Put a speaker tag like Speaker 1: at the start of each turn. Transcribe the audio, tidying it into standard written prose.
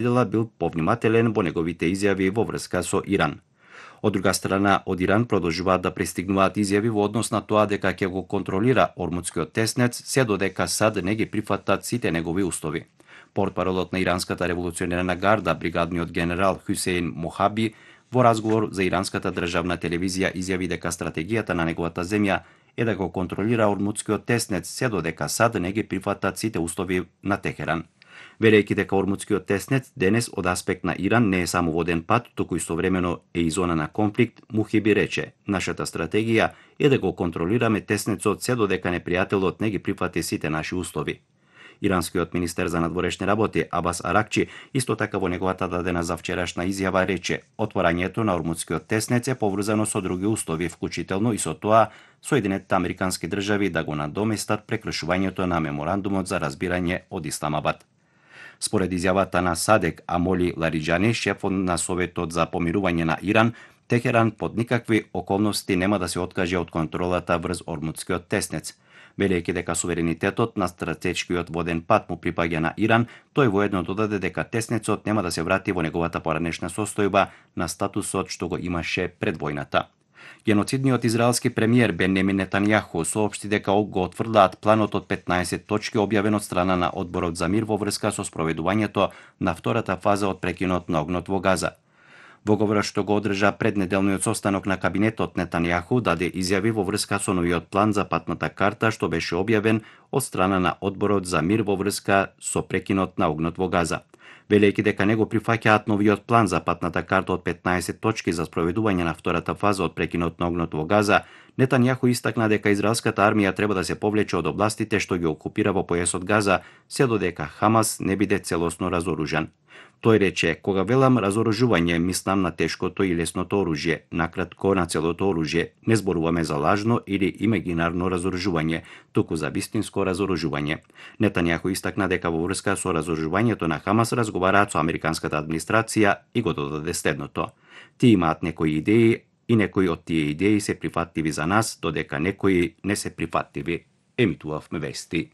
Speaker 1: бил повнимателен во неговите изјави во врска со Иран. Од друга страна, од Иран продолжуваат да пристигнуваат изјави во однос на тоа дека ќе го контролира Ормудскиот теснец, се додека САД не ги прифатат сите негови устови. Портпаролот на Иранската револуционерна гарда, бригадниот генерал Хусейн Мохаби, во разговор за иранската државна телевизија изјави дека стратегијата на неговата земја е да го контролира Ормудскиот теснец, се додека САД не ги прифатат сите устови на Техеран. Велејќи дека Ормудскиот теснец денес од аспект на Иран не е само воден пат, туку истовремено е и зона на конфликт, Мухиби рече: "Нашата стратегија е да го контролираме теснецот се додека непријателот не ги прифати сите наши услови." Иранскиот министер за надворешни работи Абас Аракчи исто така во неговата дадена за вчерашна изјава рече: "Отворањето на Ормудскиот теснец е поврзано со други услови, вклучително и со тоа Соединетите Американски држави да го надоместат прекршувањето на меморандумот за разбирање од Исламабад." Според изјавата на Садек Амоли Лариджани, шефот на Советот за помирување на Иран, Техеран под никакви околности нема да се откаже од контролата врз Ормудскиот теснец. Велејќи дека суверенитетот на стратешкиот воден пат му припаѓа на Иран, тој воедно додаде дека теснецот нема да се врати во неговата поранешна состојба на статусот што го имаше пред војната. Геноцидниот израелски премиер Бенјамин Нетањаху соопшти дека го отврдаат планот од 15 точки објавен од страна на Одборот за мир во врска со спроведувањето на втората фаза од прекинот на огнот во Газа. Во говорот што го одржа пред неделниот состанок на кабинетот, Нетањаху даде изјави во врска со новиот план за патната карта што беше објавен од страна на Одборот за мир во врска со прекинот на огнот во Газа. Велејќи дека не го прифаќаат новиот план за патната карта од 15 точки за спроведување на втората фаза од прекинот на огнот во Газа, Нетањаху истакна дека израелската армија треба да се повлече од областите што ги окупира во појасот Газа, се додека Хамас не биде целосно разоружен. Тој рече: "Кога велам разоружување, мислам на тешкото и лесното оружје, накратко на целото оружје. Не зборуваме за лажно или имагинарно разоружување, туку за вистинско разоружување." Нетањаху истакна дека во врска со разоружувањето на Хамас разговараат со американската администрација и го додаде следното: "Тие имаат некои идеи и некои од тие идеи се прифатливи за нас, додека некои не се прифатливи." Емитувавме вести.